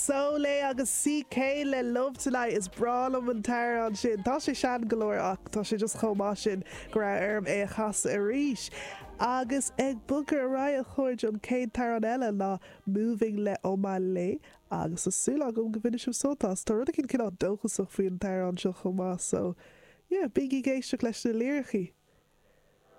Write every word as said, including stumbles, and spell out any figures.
Soleil agus CK le Love Tonight is breá liom an t-amhrán sin. Tá sé sean go leor ach tá sé just chomh maith sin go raibh orm é a chasadh arís. Agus ag bogadh ar aghaidh a chairde an chéad amhrán eile ná Moving le Omah Lay agus tá súil agam go mbainfidh sibh sult as Tá rud éigin cineál dóchasach faoin t-amhrán seo chomh maith so yeah, bígí ag éisteacht leis na liricí.